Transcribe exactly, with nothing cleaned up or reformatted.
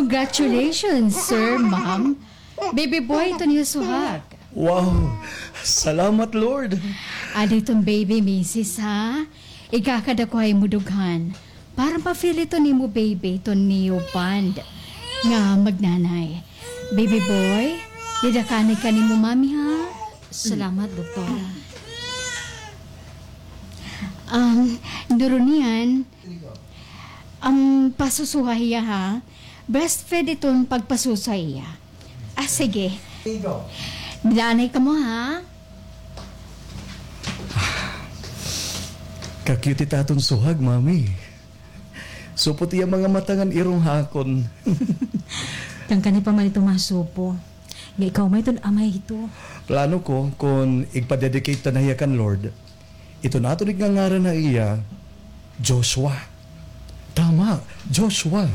Congratulations, sir, ma'am. Baby boy iton iyo suhag. Wow! Salamat, Lord! Adi iton baby, misis, ha? Ikakada ko ha imo dughan. Para ma-feel iton imo baby iton iyo bond nga magnanay. Baby boy, dida ka anay kan imo mami, ha? Salamat, doktora. Um, Doronian, um, pasusuha hiya, ha? Breastfeed iton pagpasusa hiya. Ah, sige. Dida anay kamo, ha? Ka-cute ita aton suhag, Mami. Supo it iya mga mata ngan irong ha akon. Kan kani pa man ito masupo. Nga ikaw may iton amay hito. Plano ko kon igpa-dedicate ta na hiya kan Lord, iton aton igngangaran ha iya, Joshua. Tama, Joshua.